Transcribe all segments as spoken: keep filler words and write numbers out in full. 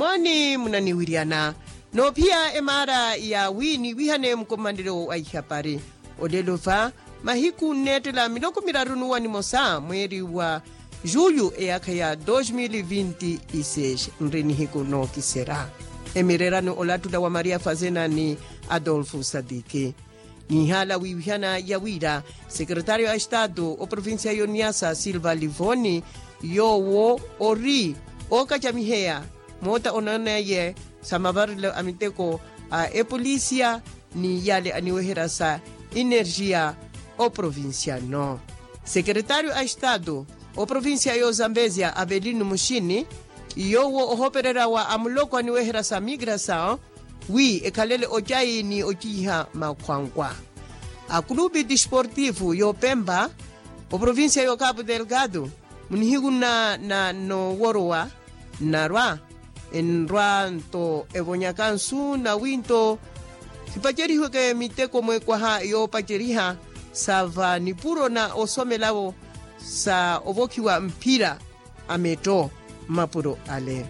Ani munaniwiryana noophiya emaara ya wi niwihane mukomanelo wa ihapari. Olelo va mahiku nneettela miloko miraru n'uwa nimosa mweeri wa juyu eyaakha ya dos mil vinti y seis. Nri nihiku nookiserya emirerani olattula wa maria fazena ni adolfo sadiki. Nihala wiwihana ya wira sekretario a estado oprovincia yoniasa silva livoni yoowo ori ookacamiheya moota onooneye sa mavarelo a miteko a epolisia ni yale aniweherya sa energia oprovincia no. Sekretario a estado oprovincia yo zambezia avelino muxini yoowo ohopererya wa amuloko aniweherya sa migrasaw wi ekhalele ocayi ni ociiha makhwankwa. Akulupi disportivo yo pempa oprovincia yo capo delgado munihiku nna noworowa nnarwa enrwa nto evonyaka nsu nawi nto sipacerihiweke miteko mwekwaha yoopaceriha sa va nipuro na osomelawo sa ovokhiwa mphira a metto mmapuro ale.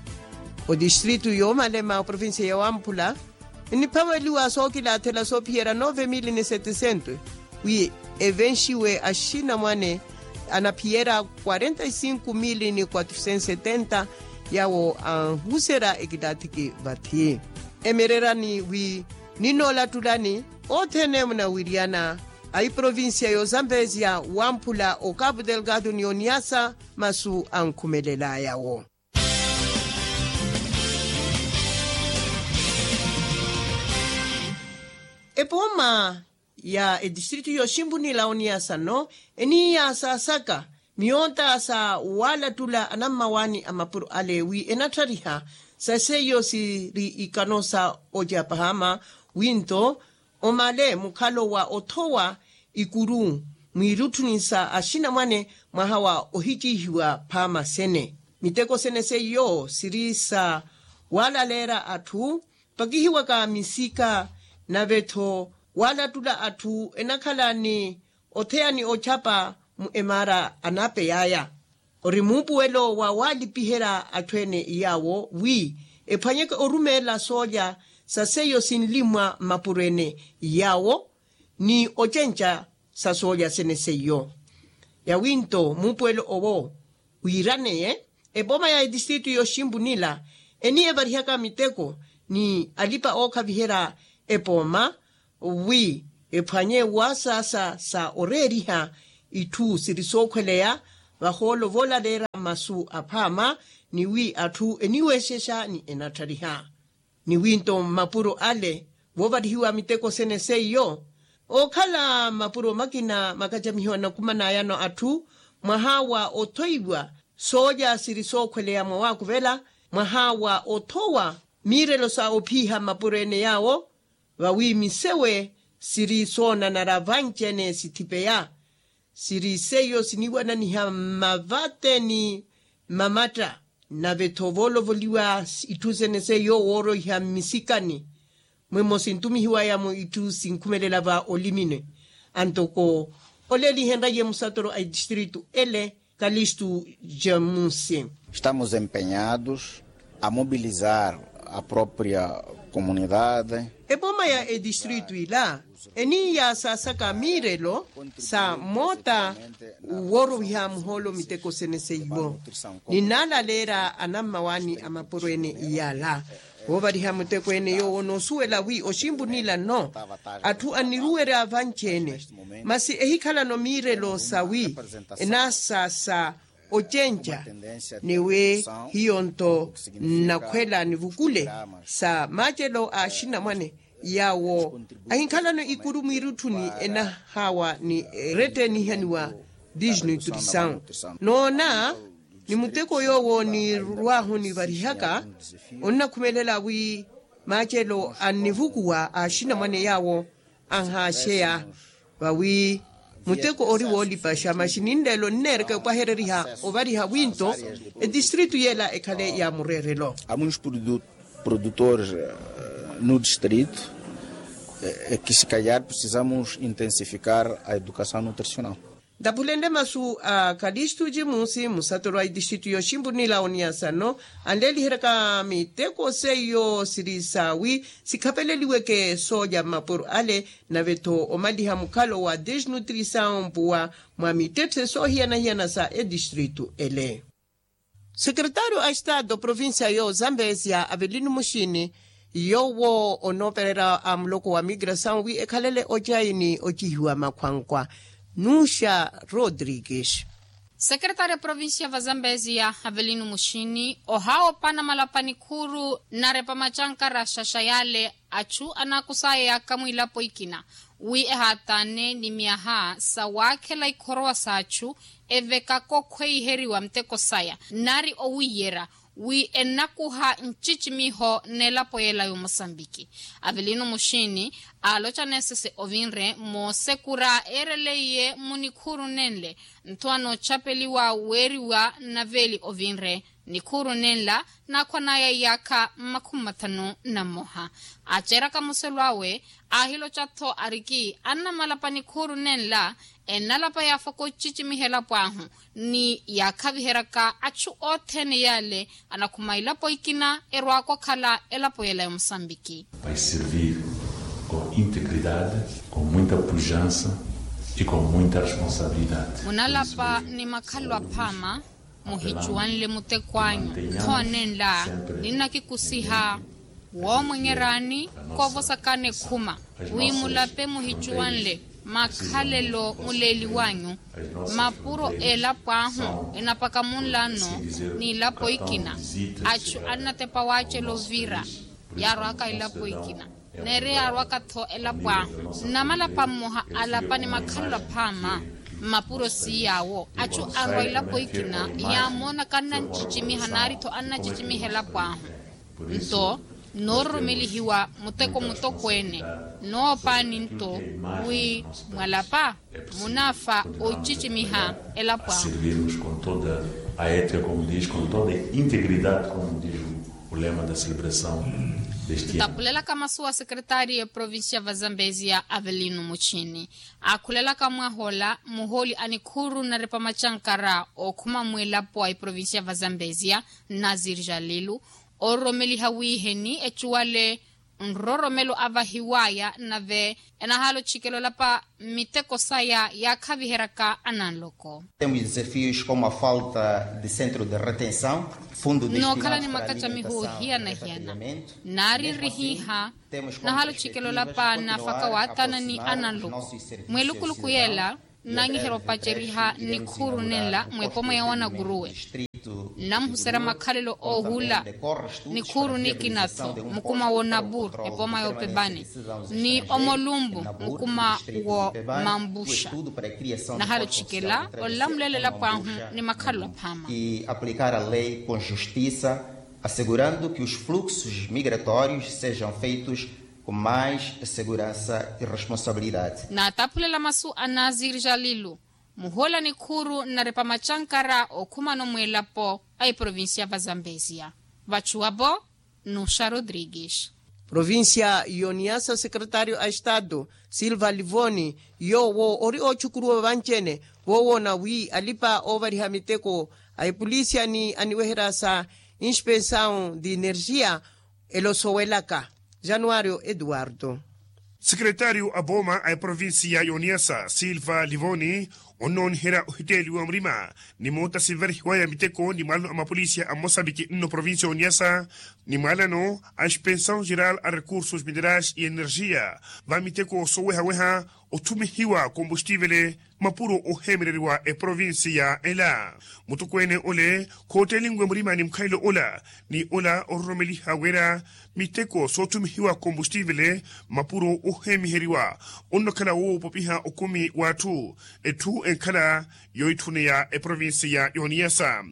Odistritu yoomalema oprovincia ya wamphula nniphaveliwa sookilaathela soophiyerya nove mili ni setecento wi evenxiwe axinamwane anaphiyerya quarenta y cinco mili ni quatrocentos setenta yawo anhuserya ekilaathiki vathi. Emererani wi ninnoolattulani othene munawiryana a iprovincia yo zambezia wamphula o capo delgado ni oniasa masu ankhumelelaya wo. Epooma ya etistritu yoximpunila oniasa no eniiya saasaka miyoota sa waalattula anammawaani a mapuro ale wi enatthariha sa seiyo siri ikano sa ocapahama wi nto omale mukhalo wa othowa ikuru mwiirutthuni sa axinamwane mwaha wa ohiciihiwa phaama sene. Miteko sene seiyo siri sa waalaleera atthu pakihiwaka misika nave-tho waalattula atthu enakhala ni otheya ni ochapa mu emaara anapeyaya. Ori muupuwelo wa waalipiherya atthu ene yaawo wi ephwanyeke orumeela soolya sa seiyo sinlimwa mmapuro ene yaawo ni ocenca sa soolya sene seiyo. Yawinto muupuwelo owo wiiraneye epooma ya etistritu yoximpunila eniiyevarihaka miteko ni alipa ookhaviherya epooma wi ephwanye wasaasa sa oreeriha itthu siri sookhweleya vahoolo voolaleera masu aphaama ni wi atthu eniweexexa ni enatthariha. Ni winto mmapuro ale voovarihiwa miteko sene seiyo ookhala mmapuro makina makacamihiwa nakumanayano atthu mwaha wa othoiwa soolya siri sookhweleya mwa waakuvela mwaha wa othowa miirelo sa ophiiha mmapuro ene yaawo vawi misewe siri soonanara vanci-ene sithipeya siri seiyo siniwananiha mmavate ni mmamatta. Nave-tho voolovoliwa itthu sene seiyo wooroiha mmisikani mwemo sintumihiwaya mu itthu sinkhumelela va olimini antoko ole elihenraiye musatoro a etistritu ele kalistu jamusi. Estamos empenhados a mobilizar a própria comunidade. Epooma ya etistritu ila eniiya saasaka miirelo sa moota woorowiha muhoolo miteko sene seiwo ninaalaleera anammawaani a mapuro ene iyala. Woovariha muteko ene yoowo noosuwela wi oximpunila nno atthu anniruwerya vanci-ene masi ehikhalano miirelo sa wi enaasa sa ocenca ni wi hiyo nto nnakhwela nivukule sa maacelo a axinamwane yaawo ahinkhalano ikuru mwiirutthuni enahawa ni erette enihaniwa disnutrisaw noona ni muteko yoowo nirwaahu nivarihaka onnakhumelela wi maacelo annivukuwa a axinamwane yaawo anhaaxeya vawi muteko ori woolipaxa masi ninleelo nneereke opwahereriha ovariha winto etistritu yeela ekhale ya mureerelo. Há muitos produtores no distrito que se calhar precisamos intensificar a educação nutricional. Ntaphulenle masu a kalistu cimusi musatoro a itistritu yoximpunila oniyasano, anleeliheryaka miteko seiyo siri sawi sikhaveleliweke sooja mmapuro ale, nave-tho omaliha mukhalo wa desnutrisaw mpuwa mwa mittetthe soohiyana-hiyana sa etistritu ele. Sekretario a estado provincia yo zambezia avelino muxini, yoowo onoopererya a muloko wa migrasaw wi ekhalele ocayi ni ocihiwa makhwankwa. Nuxa rodrigues. Sekretario provincia va zambezia avelino muxini ohawopa namalapa nikhuuru narepa macankara xaxa yale achu anaakusaya yaaka mwiilapo ikina wi ehaataane ni myaha sa waakhela ikhorowa s'achu evekaka okhweiheriwa muteko saya nari owiiyerya wi enakuha ncicimiho n'elapo yeela y'omosambiki. Avelino muxini aaloca neesese ovinre moosekura eereleiye munikhuuru nenle ntho anoocapeliwa weeriwa naveeli ovinre nikhuuru nenla naakhwanaya iyaakha mmakhumi mathanu na mmoha. Aceeraka muselo awe aahiloca-tho ariki annamalapa nikhuuru nenla ennalapa yaafaka ocicimiha elapo ahu ni yaakhaviheryaka achu othene yale anakhuma elapo ikina erwaaka okhala elapo yeela y'omusambiki. Vai servir com integridade, com muita pujança e com muita responsabilidade. Munalapa ni makhalelo aphaama muhicuwanle muteko anyu ntho nenla ninnakikusiha woomwenyeryaani koovosakana ekhuma wi mulape muhicuwanle makhalelo muleeliwanyu mapuro elapo ahu enapaka munlano n'ilapo ikina achu annatepa waacela ovira yaarwaka elapo ikina neeri yaarwaka-tho elapo ahu namalapa mmoha alapa ni makhalelo aphaama mmapuro siiy'awo achu arwa elapo ikina yaamoonaka annancicimiha naari-tho annancicimiha elapo ahu nto noororomelihiwa muteko mutokweene noopaani nto wi mwalapa munaafa ocicimiha elapo ahu. Servirmos com toda a ética como diz com toda a integridade como diz o lema da celebração deste ano. Ntapulelaka masu wa sekretaari eprovincia va zambezia avelino muchini aakhulelaka mwaha ola muhooli a nikhuuru narepa macankara ookhuma mwiilapo a eprovincia va zambezia nazir jalilu oororomeliha wiiheni ecuwale nroromelo avahiwaya nave enahaala ochikela olapa miteko saya yaakhaviheryaka ananloko. Temos desafios como a falta de centro de retenção, fundo destinado para alimentação e refrigeramento. Nari nrihiiha nahaala ochikela olapa naafaka waathana ni ananloko mwelukuluku yeela nnanyiherya opaceriha nikhuuru nenla mw'epoma ya wanakuruwe nnamuhuserya makhalelo oohula nikhuuru nikina-tho mukuma w'onapur epoma y'opepani ni omolumpu mukuma w'omampuxa nahaala ochikela olamulela elapo ahu ni makhalelo aphaama. E aplicar a lei com justiça, assegurando que os fluxos migratórios sejam feitos com mais segurança e responsabilidade. Naataphulela masu a nazir jalilu muhoola nikhuuru nnarepa macankara okhumano mwiilapo a eprovincia va zambezia vachuwapo nuxa rodrigues. Provincia y'oniyasa sekretario a estado silva livoni yoowo ori oochukuruwa vanci-ene voowoona wi alipa oovariha miteko a epolisia ni aniweherya sa inspensaw di energia elosowelaka januario eduardo. Sekretario a pooma a eprovincia y'oniyasa silva livoni onnooniherya ohitteeliwa murima ni moota sinvarihiwaya miteko ni mwaalano a mapolisia a mosambiki nno provincia y'oniyasa ni mwaalano a inspensaw geral a recursos minerais y'energia va miteko soowehaweha othumihiwa kombustiivele mapuro oheemereriwa eprovincia ela. Mutokweene ole khoottelinwe murima ni mukhalelo ola ni ola ororomeliha wira miteko soothumihiwa kombustiivele mapuro oheemiheriwa onnakhala woopopiha okumi w'atthu etthu enkhala yoitthune ya eprovincia y'oniyasa.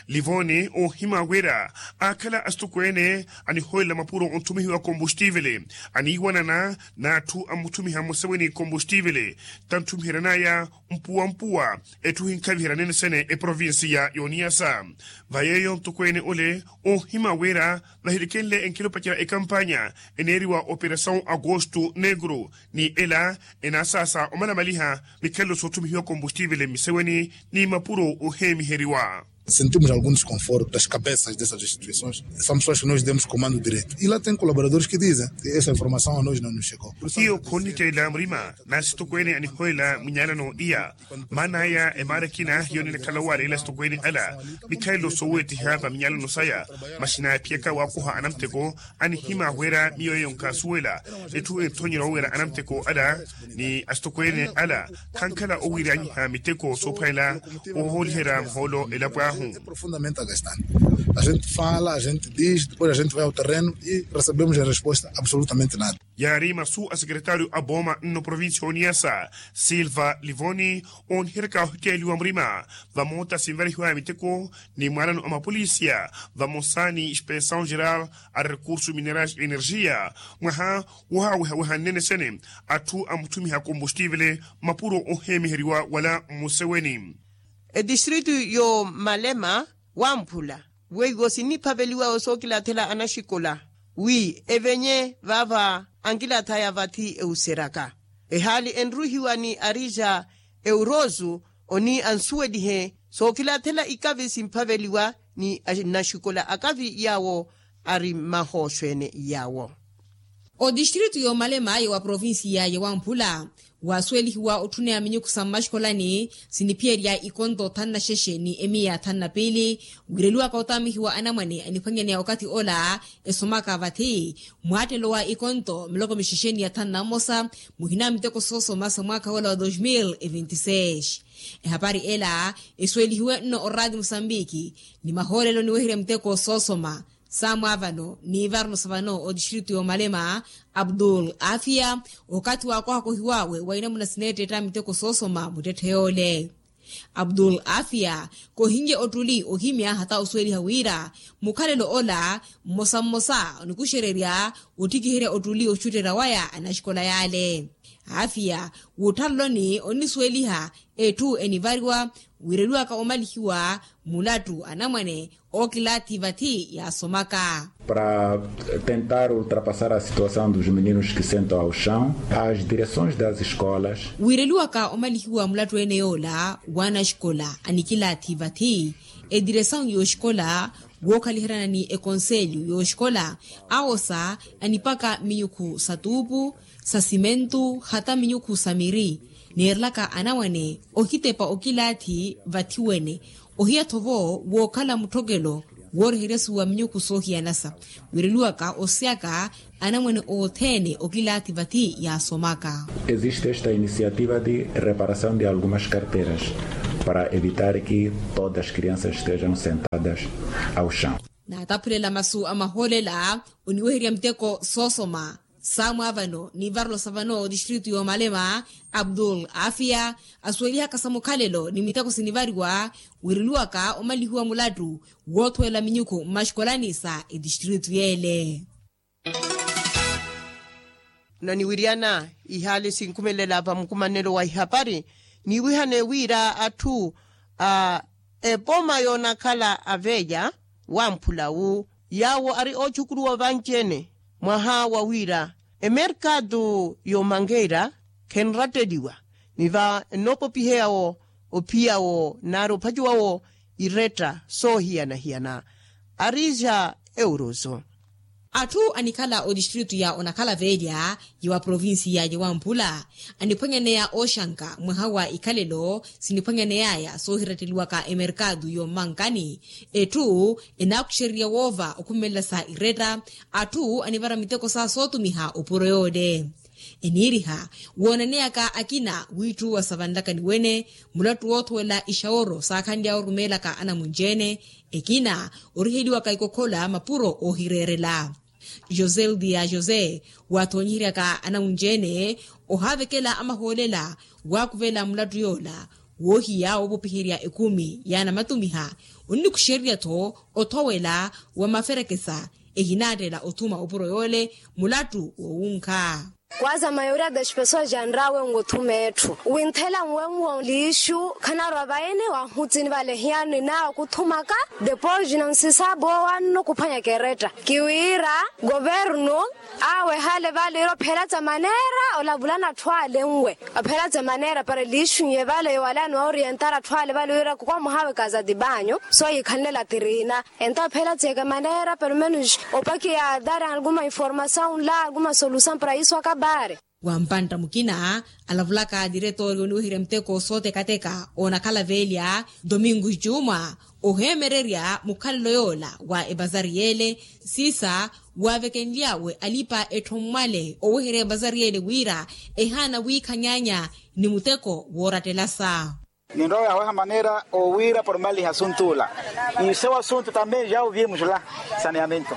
Livoni oohima wira aakhala asitokweene anihoolela mapuro onthumihiwa kombustiivele, aniiwanana n'atthu ammuthumiha mmuseweni kombustiivele tanthumiheran'aya mpuwa mpuwa. Etthu hinkhaviherya nene sene eprovincia y'oniyasa. Va yeeyo ntokweene ole oohima wira vahilikenle enkhilupa ca ekampanya eneeriwa operasawu agosto negro, ni ela enaasaasa omalamaliha mikhalelo soothumihiwa kombustiivele mmiseweni ni mapuro oheemiheriwa. Sentimos algum desconforto das cabeças dessas instituições. São pessoas que nós demos comando direto e lá tem colaboradores que dizem que essa informação a nós não nos chegou. Hiyo khonnitteela murima n'asitokweene anihoolela minyalano iya. Maana aya emaara ekina hiyo ninakhala owaaleela asitokweene ala mikhalelo sooweetiha va minyalano saya. Masi naaphiyaka waakoha anamuteko anihima wira miyo eyo nkaasuwela. Etthu enthonyerya oweera anamuteko ala ni asitokweene ala khankhala owiiryanyiha miteko soophwanela ohooliherya muhoolo elapo ahu. Profundamente agastante. A gente fala a gente diz depois a gente vai ao terreno e recebemos a resposta absolutamente nada. Yaari masu a sekretario a booma nno provincia oniyasa silva livoni, ooniheryaka ohitteeliwa murima vamoota sinvarihiwaya miteko ni mwaalano a mapolisia vamosa ni inspeção geral a recurso minerais energia mwaha wohawehaweha nnene sene atthu ammuthumiha kombustiivele mapuro oheemiheriwa wala mmuseweni. Etistritu y'omalema wamphula weiwo siniphaveliwa osookilathela anaxikola wi evenye vaava ankilaathaya vathi euseryaka ehaali enruhiwa ni arija euroso oni ansuwelihe sookilaathela ikavi simphaveliwa ni anaxikola akavi yaawo ari mmahooxweene yaawo. Otistritu y'omalema ya wa provincia ya wamphula waasuwelihiwa otthuneya minyukhu sa mmaxikolani siniphiyerya ikonto thanu na xexe ni emiya thanu na piili. Wiireliwaka otaamihiwa anamwane aniphwanyaneya okathi ola esomaka vathi mwaattelo wa ikonto miloko mixexe ni ya thanu na mmosa muhina miteko soosoma sa mwaakha wola wa dos mil e vinti seis. Ehapari ela esuwelihiwe nno oraati musambiki ni mahoolelo niweherya miteko soosoma sa mwaavano ni varno sa vano otistritu y'omalema abdul afia okathi waakohakohiw'awe wa inamuna sineetteetta miteko soosoma muttetthe yoole. Abdul afia kohinye ottuli ohimya hata osuweliha wira mukhalelo ola mmosa mmosa onikuxererya ottikiherya ottuli oxutterya waya anaxikola yaale. Afia wuuthaloloni onnisuweliha etthu enivariwa wiireliwaka omalihiwa mulattu anamwane ookilaathi vathi yaasomaka. Para tentar ultrapassar a situação dos meninos que sentam ao chão as direções das escolas. Wiireliwaka omalihiwa mulattu ene yoola w'anaxikola anikilaathi vathi ediresawu y'oxikola wookhaliheryana ni ekonselyu y'oxikola awosa anipaka minyukhu sa tuupu sa simentu hata minyukhu sa miri neerelaka anamwane ohitepa okilaathi vathi wene ohiya-tho vo wookhala mutthokelo wooriheryasuwa minyukhu soohiyanasa wiireliwaka osiyaka anamwane othene okilaathi vathi yaasomaka. Existe esta iniciativa de reparação de algumas carteiras para evitar que todas as crianças estejam sentadas ao chão. Naataphulela masu a mahoolela oniweherya miteko soosoma sa mwaavano ni varelo sa vano otistritu y'omalema abdul afia asuwelihaka sa mukhalelo ni miteko sinivariwa wiireliwaka omalihiwa mulattu woothuwela minyukhu mmaxikolani sa etistritu yeele. Naniwiryana ihaali sinkhumelela va mukumanelo wa ihapari niwihane wira atthu a epoma yoonakhala aveya wamphula wu yaawo ari oochukuruwa vanci-ene mwaha wa wira emerkatu y'omankeira khenratteliwa ni va ennoopopiheya-wo ophiya-wo nari ophacuwa-wo iretta soohiyana-hiyana. Arija euroso. Atthu anikhala otistritu ya onakhala velya ya wa provincia ya wamphula aniphwanyaneya ooxanka mwaha wa ikhalelo siniphwanyaneyaya soohiratteliwaka emerkatu y'ommankani. Etthu enaakuxererya woova okhumelela sa iretta atthu anivara miteko sa sootumiha opuro yoole. Eniiriha woonaneyaka akina wiitthuwa sa vanlakani wene mulattu woothowela ixaworo saakhanly'awe orumeelaka anamunci-ene ekina oriheliwaka ikokhola mapuro oohireerela. José ludia josé waathoonyiheryaka anamunci-ene ohaavekela amahoolela waakuvela mulattu yoola Woohiya woopopiherya ekumi yaana matumiha, onnikuxererya-tho othowela wa maferekesa ehinaattela othuma opuro yoole mulattu wowunkha. Kwaza mayoria das pessoas janrawe nwothuma etthu winthela nwenwo liixu khanarwa vaene wahutsini vale hiyani nawe kuthumaka. Depois nonsisabo wanno kuphwanya keretta kiwira governo awe hale vale ira ophelatsa manera olavulana atthu ale nwe ophelatsa manera para liixu nye vale yowalani wa orientara atthu ale vale ira kukwamuhawe kaza dibanyo so yikhalenela tirina. Entaphela tseke manera pelomenus opakiya dar alguma informasaw nla alguma solusaw para isu akabare. Wa mpantta mukina alavulaka diretori oniweherya muteko sootekateka onakhala velya domingo juma ohemererya mukhalelo yola wa ebazari yele sisa wavekenlyawe alipa etthomwale oweherya ebazari yele wira ehaana wiikhanyanya ni muteko woorattelasa. Ninrowa yaweha manera owiira pormaliha asuntu ula. Ise wa asuntu tambe ja oviye muxula saneamento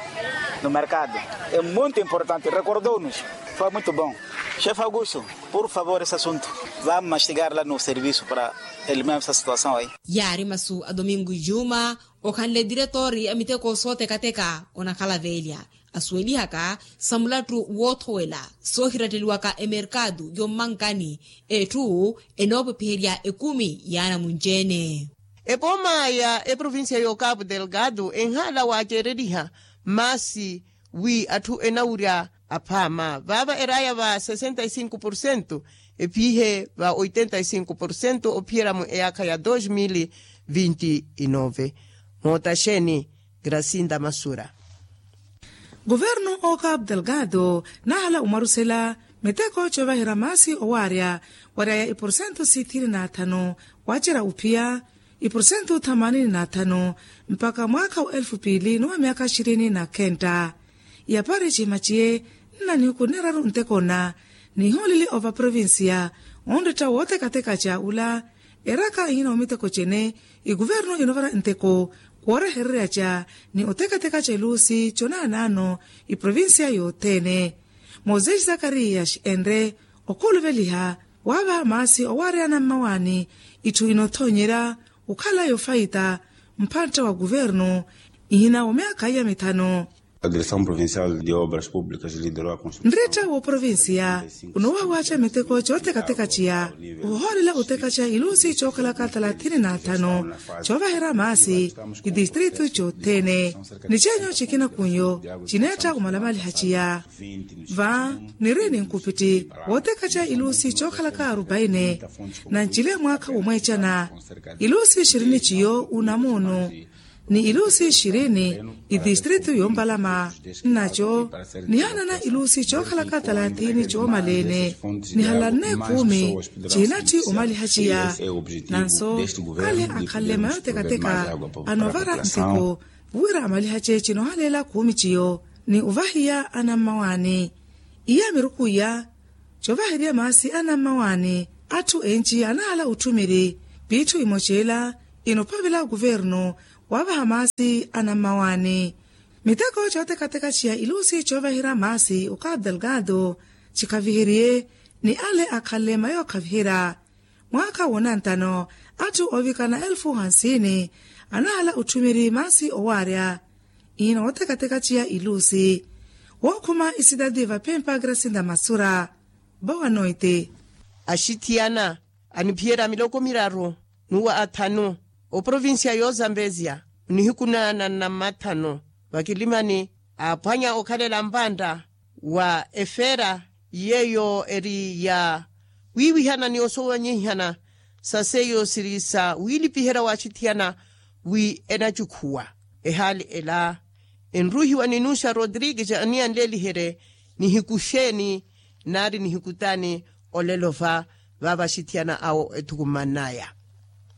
no merkado. E muntu importante rekordou-nus. Foi muito bon. Xefe augusto, por favor ese asuntu vamos mastigar la no servisu para eliminar esa situasaw ayi. Yaari masu a domingo juma okhanle diretori a miteko sootekateka onakhala velya asuwelihaka sa mulattu woothowela soohiratteliwaka emerkatu yommankani. Etthu enoopopiherya ekumi yaana munci-ene. Epooma ya eprovincia y'okapu delgado enhaala waaceereriha maasi wi atthu enawurya aphaama vaava eraaya va sesenta e cinco porcento ephiihe va oitenta e cinco porcento ophiyerya mu eyaakha ya dos mil vinti e nove. Mootaxeni gracinda masura. Guvernu o capu delgado naahala omwarusela miteko coovaherya maasi owaarya waryaya iporsentu sithini na thanu waacerya ophiya iporsentu thamanini na thanu mpakha mwaakha wa elfu piili ni wa myaakha xirini na khenta. Iyapari cihimaciye nna nihiku niraru nteko nna nihooleli ova provincia onretta wootekateka ca ula eraka ihina omiteko cene. Iguvernu inovara nteko koorehererya ca ni otekateka ca iluusi conaanaano iprovincia yothene. Moses zakarias enre okhuuluveliha waavaha maasi owaarya anammawaani itthu inothoonyerya okhala yofaita mpantta wa guvernu ihina wa myaakha iya mithanu. Nretta wooprovincia onoowawaca miteko cootekateka ciya ohoolela otekaca iluusi cookhalaka thalathini na thanu coovaherya maasi itistritu cothene. Ni ceenyu cikina kunyo cineetta omalamaliha ciya va niri ni nkupitti wootekaca iluusi cookhalaka arupaine. Nancile mwaakha womweecana iluusi xirini ciyo unamuunu ni iluusi xirini itistritu yompalama nnaco nihaanana iluusi cookhalaka thalathini coomaleene nihalanne kumi cihinatthi omaliha ciya. Nanso ale akhanle mayo tekateka anovara nteko wira amalihace cinohaleela kumi ciyo ni ovahiya anammawaani iya miruku iya covaherya maasi anammawaani atthu enci anahala otthumiri piitthu imoceela inophavela kuvernu waavaha maasi anammawaani. Miteko cootekateka ciya iluusi coovaherya maasi okapu delgado cikhaviheriye ni ale akhanle mayo akhaviherya mwaakha woonantano atthu oovikana elfu hansini anahala otthumiri maasi owaarya. Ihina wootekateka ciya iluusi wookhuma isidadi vapempa grasinda masura boa noite. Axithiyana aniphiyerya miloko miraru nuwa athanu oprovincia y'ozambezia onihiku na nanna mmathanu vakilimani aaphwanya okhalela mpantta wa efeera yeeyo eri ya wiiwihana ni osowanyihana sa seiyo siri sa wiilipiherya waaxithiyana wi enacukhuwa ehaali ela enruuhiwa ni nuxa rodrigues aniyanleeliherye nihiku xeeni naari nihiku taani olelo va vaavaxithiyana awo ethukumannaya.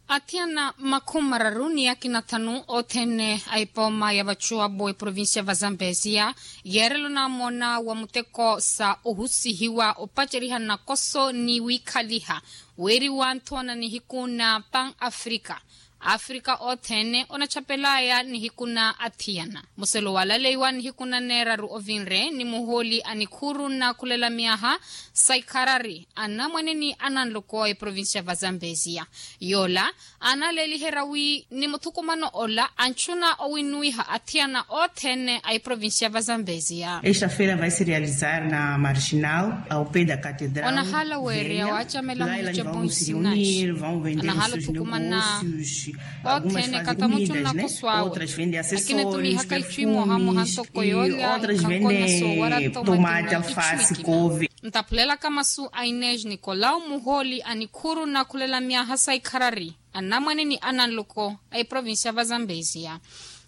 Athiyana makhumi mararu ni akina thanu othene a epooma ya vacuwabu eprovincia va zambezia yeerela onamoona wa muteko sa ohusihiwa opaceriha nakoso ni wiikhaliha weeriwa nthoona nihiku na pan africa. Afrika othene onatthapelaya nihiku na athiyana. Muselo walaleiwa nihiku na neeraru ovinre ni muhooli a nikhuru na khulela myaha sa ikharari anamwane ni ananloko a iprovincia va zambezia. Yoola analeeliherya wi ni muthukumano ola antthuna owinuwiha athiyana othene a iprovincia va zambezia. Esta feira vai se realizar na marginal ao pé da catedral. Onahala weereya waacamela muhicepu nsinai. Anahala othukumana othene kata mutthu nnakoswawe. Akina etumihaka itthu imooha mooha ntoko yoolya ikhankonya soowara tomate alfasi kove. Ntaphulelaka masu a inês nicolau muhooli a nikhuru na khulela myaha sa ikharari anamwane ni ananloko a iprovincia va zambezia.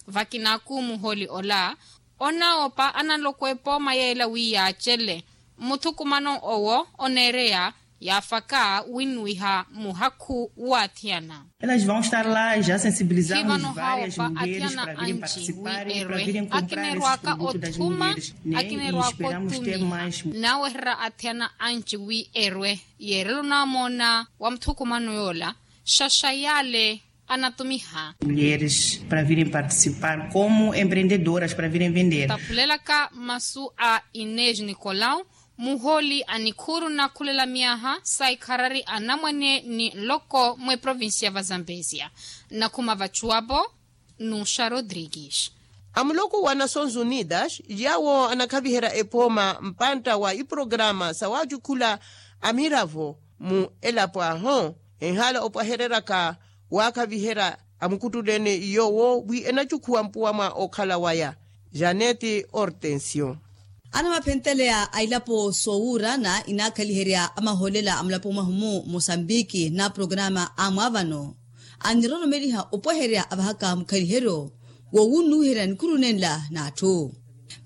Vakinaku muhooli ola onoopa ananloko epooma yeela wi yaacele muthukumano owo oneereya yaafaka winnuwiha muhakhu w'athiyana. Elas vão estar lá já sensibilizamos vivano várias hawopa mulheres athiyana para virem anci participar wi e para erwe virem comprar esse akinerwaka produto das othuma mulheres, né? Akinerwaka otumiha. Naaweherera athiyana anci wi erwe yeerelo naamoona wa muthukumano yoola xaxa yaale anatumiha. Mulheres para virem participar como empreendedoras para virem vender. Taphulelaka masu a inês nicolau muhooli a nikhuru na khulela myaha sa ikharari anamwane ni nloko mweprovincia va zambezia. Nakhuma vachuwapo nuxa rodrigues. Amuloko wa nações unidas yawo anakhaviherya epooma mpantta wa iprograma sa waacukhula amiravo mu elapo ahu enhala opwahereryaka waakhaviherya amukuttuleene yoowo wi enacukhuwa mpuwa mwa okhala waya. Janete hortensio. Anamaphenteleya a ilapo soowuurana inaakhaliherya amahoolela a mulapo mwahu mu mosambiki na programa a mwaavano aniroromeliha opweherya avahaka mukhaliheryo woowunnuwiherya nikhuru nenla n'atthu.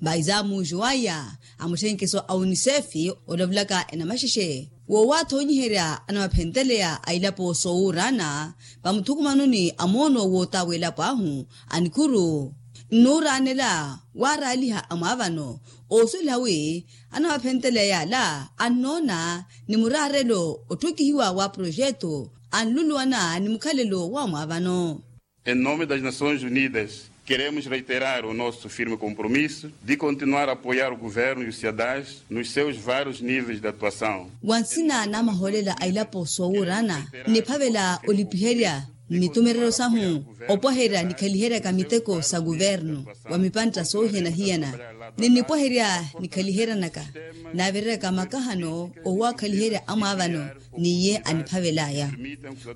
Mbaizaamuujo aya a mutthenkeso a unisefi olavulaka enamaxexe woowathoonyiherya anamaphenteleya a ilapo soowuurana vamuthukumanoni a moono woota w'elapo ahu a nikhuru nnuuraanela waaraaliha a mwaavano oosweliha wi anamaphenteleya yaala annoona ni muraarelo otthokihiwa wa projeto anluluwana ni mukhalelo wa mwaavano. Em nome das Nações Unidas, queremos reiterar o nosso firme compromisso de continuar a apoiar o governo e o ciadás nos seus vários níveis de atuação. Wa nsina na mahoolela a ilapo soowuurana nniphavela olipiherya mmitumerero sahu opwaherya nikhaliheryaka miteko sa kuvernu wa mipantta soohiyana-hiyana. Ninnipwaherya nikhaliheryanaka naavereryaka makahano owakhaliherya amwaavano n'iye aniphavel'aya.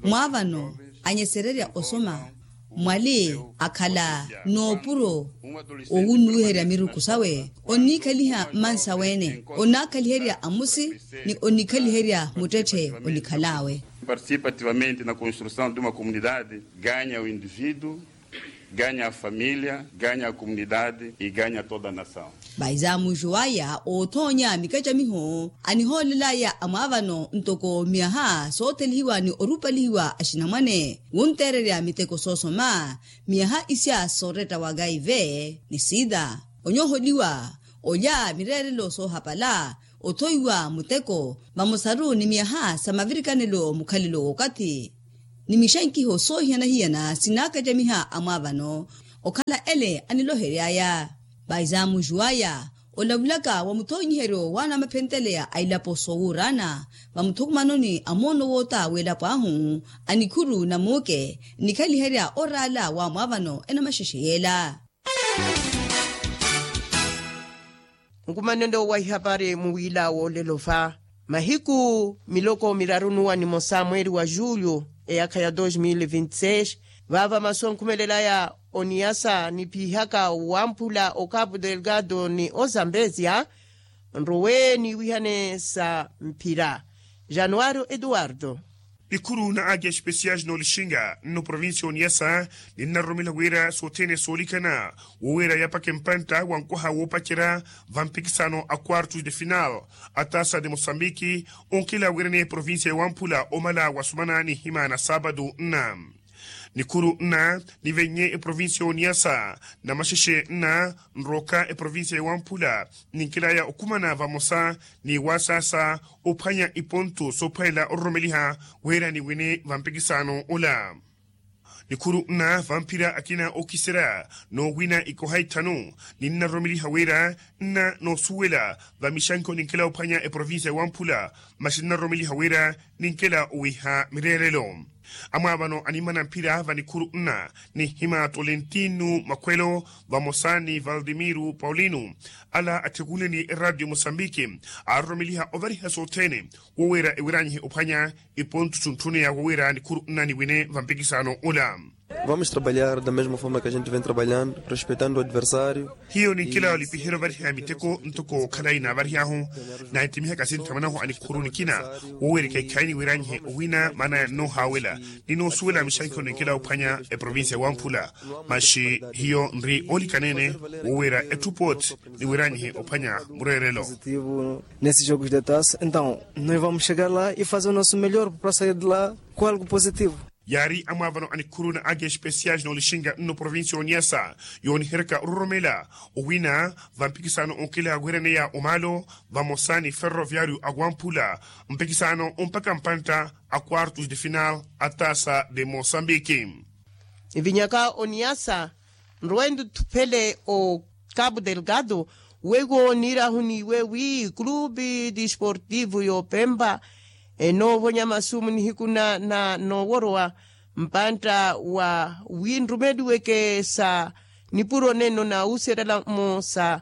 Mwaavano anyesererya osoma mwali akhala n'opuro owunnuwiherya miruku sawe onniikhaliha mmansa wene onnakhaliherya amusi ni onnikhaliherya muttetthe onikhal'awe. Participa ativamente na construção de uma comunidade, ganha o indivíduo, ganha a família, ganha a comunidade e ganha toda a nação. Vaizamuxu aya oothoonya mikacamiho anihoolelaya amwaavano ntoko miyaha soothelihiwa ni orupalihiwa axinamwane wunteererya miteko soosoma miyaha isya sooretta wa kaive ni sida onyooholiwa olya mireerelo soohapala othoiwa muteko vamosaru ni miyaha sa mavirikanelo mukhalelo w'okathi ni mixankiho soohiyana-hiyana sinaakacamiha amwaavano okhala ele anilohery'aya. Vaizamuxu aya olavulaka wa muthoonyiheryo w'anamaphenteleya a ilapo soowuurana vamuthukumanoni a moono woota w'elapo ahu a nikhuru na muuke nnikhaliherya oraala wa mwaavano enamaxexe yeela. Nkumanelo wa ihapari muwiila woolelo va mahiku miloko miraru n'uwa nimosa mweeri wa julho eyaakha ya dos mil vinti seis vaava masu onkhumelelaya oniyasa niphihaka wamphula o capo delgado ni ozambezia nrowe niiwihane sa mphira. Januario eduardo. Nikhuru na agi especiais n'olixinga nno provincia oniyasa ninnaroromela wira sothene soolikana woweera yapaka empantta wa nkwaha woopacerya vampikisano a quartos de final a tasa de mosambiki onkela wirene provincia ya wamphula omala wasumana nihima na saapatu nna. Nikhuru nna nivennye eprovincia oniyasa na maxexe nna nroka eprovincia ya wamphula ninkelaya okhumana vamosa ni wasaasa ophwanya iponto soophwanela ororomeliha wira niwine vampikisano ola. Nikhuru nna vamphira akina ookiserya noowina ikoha ithanu, ninnaroromeliha wira nna noosuwela vamixanko ninkela ophwanya eprovincia ya wamphula, masi ninnaroromeliha wira ninkela owiha mireerelo. Amwaavano animana mphira vanikhuru nna, ninhima tolentino makhwelo vamosa ni valdimiro paulino, ala atthekunleni eradio mosambiki, aaroromeliha ovariha sothene, woowira ewiranyihe ophwanya ipontu suntthuneya woowira nikhuru nna niwine vampikisaano ula. Vamos trabalhar da mesma forma que a gente vem trabalhando, respeitando o adversário. Hiyo ninkela olipiherya ovariha miteko ntoko khalayi naavarihyahu, naahittimihaka sinthamanahu anikhuru nikina, woowira ekeekhayi niwiranyihe owina maana ya nnoohaawela, ni noosuwela mixankhelo ninkela ophwanya eprovincia ya wamphula. Masi hiyo nri oolikaneene, woowira etthu pooti niwiranyihe ophwanya mureerelo. Nesse jogo de taça então nós vamos chegar lá e fazer o nosso melhor para sair de lá com algo positivo. Yaari amwaavano anikhuru na age especial noolixinka nno provincia ya oniasa, yooniheryaka ororomela owina vampikisaano onkela wiraneya omaalo, vamosa ni ferroviario awamphula, mpikisaano ompaka mpantta a quartos de final a taça de mosambiki. Evinyaka oniasa nrowe ndutthuphele o cabo delgado, weiwo niirahuniiwe wi clube desportivo y'opempa enoovonya masumu nihiku na nooworowa mpantta wa wi nrumeliweke sa nipuro nenno na wuuserelamo sa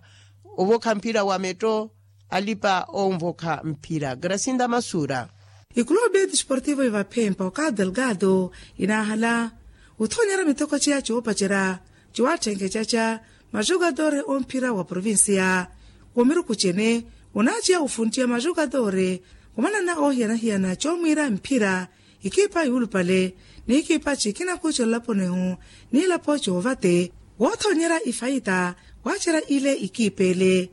ovokha mphira wa metto. Alipa onvokha mphira grasinda masura. Ikulubi desportivo ivaphempa okato delgado inaahala othoonyerya miteko ciya coopacerya ciwatthenkecaca maxukatore omphira wa provincia. Womiruku cene onaaciya ofunttiya maxukatore omanana oohiyana-hiyana coomwiira mphira ikipa yuulupale n'ikipa cikina kuucela laponihu n'ilapo coovate woothonyerya ifaita waacerya ile ikipa ele.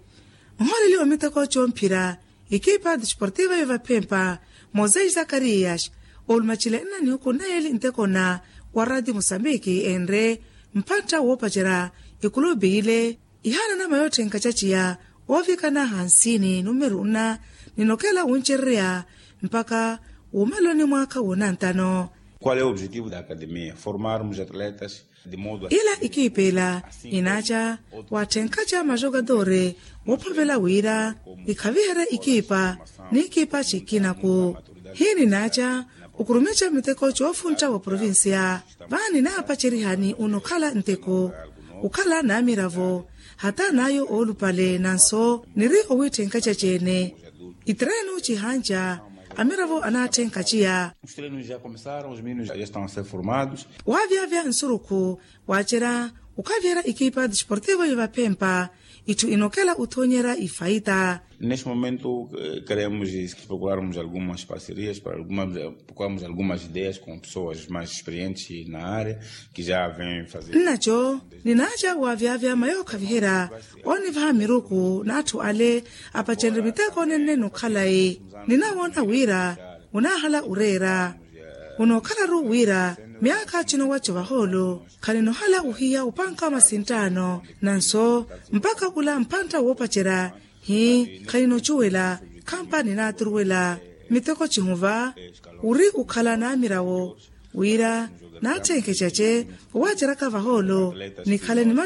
Nhooleliwa miteko comphira ikipa desportiva yovaphempa mosei zakarias olumacile nna nihuku nna yeeli ntekona wa rati musambiki enre mphantta woopacerya ikulubi ile ihaanana mayootthenkha caciya oovikana hansini numeru nna ninokela wuncererya mpaka wuumeloni mwaakha woonantano. Qual é o objetivo da academia formarmos atletas de modo ila ikipa ila inaaca watthenkaca maxokatore woophavela wira ikhaviherye ikipa n'ikipa cikinaku. Hiininaaca okurumica miteko coofuntta wa provincia vaani naapacerihani onokhala nteko okhala naamiravo hata naayo oolupale nanso niri owitthenkaca ceene. Itirenu cihanca amiravo anaatthenkaciya. Os treinos já começaram os meninos já estão a ser formados. Waavyavya nsurukhu waacerya okhaviherya ikipa desportivo yovaphempa itthu inokela othoonyerya ifaita. Neste momento queremos procurarmos algumas parcerias para procurarmos algumas ideias com pessoas mais experientes na área que já vem fazer. Nnaco ninaaca waavyavya mayookhaviherya oonivaha miruku n'atthu ale apacenrye miteko nenne nokhalayi. Ninawoona wira onaahala oreera onookhalaru wira myaakha cinowaco vahoolo khaninohala ohiya opanka masinttaano nanso mpakha khula mphantta woopacerya hi khaninocuwela khampa ninaaturuwela miteko cihuva ori okhala naamirawo wira naatthenkecace owaaceryaka vahoolo nikhale ni